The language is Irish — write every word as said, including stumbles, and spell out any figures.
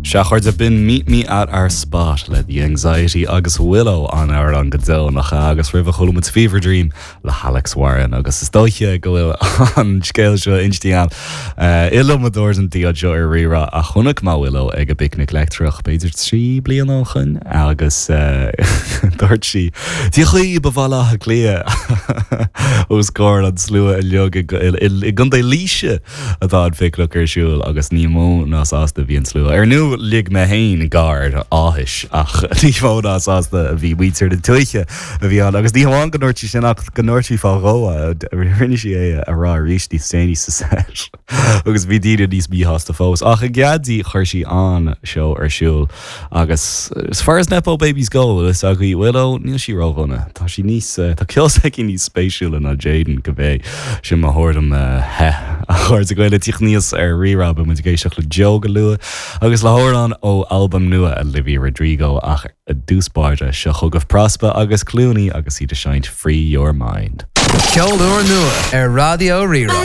Sea, a chairde, b'in Meet Me at Our Spot le The Anxiety agus Willow an amhrán go deo nach ea agus roimhe chuala muid Fever Dream le hAlex Warren agus is dóiche go bhfuil an scéal seo inste agam iliomad uair anseo ar Rí-Rá a chonaic mé Willow ag an bPicnic Leictreach b'fhéidir trí bliana ó shin agus dúirt sí Dia dhaoibh a Bhaile Átha Cliath os comhair an slua uilig i gContae Laoise atá an phicnic ar siúl agus ní mó ná sásta bhí an slua. Ar ndóigh lig mé féin gáir áthais ach ní mó ná sásta a bhí muintir na tuaithe a bhí ann agus ní hamháin go ndúirt sí sin ach go ndúirt sí fá dhó rinne sí é a rá arís níos déanaí sa set agus bhí daoine níos míshásta fós ach i gcead di chuir sí an seó ar siúl agus as far as Nepo babies go is agaí Willow níl sí ródhona Tá sí níos tá ceol s'aici níos spéisiúla ná Jaden go bé sin mo thuairim he a chairde Gael tíocht níos ar Rí-Rá muid ag éisteacht le Joe go luath agus le hamhrán ó albam nua Olivia Rodrigo ach i dtús báire seo chugaibh Prospa agus Clooney agus iad ag seinnt Free Your Mind. Ceol úr nua ar Raidió Rí-Rá.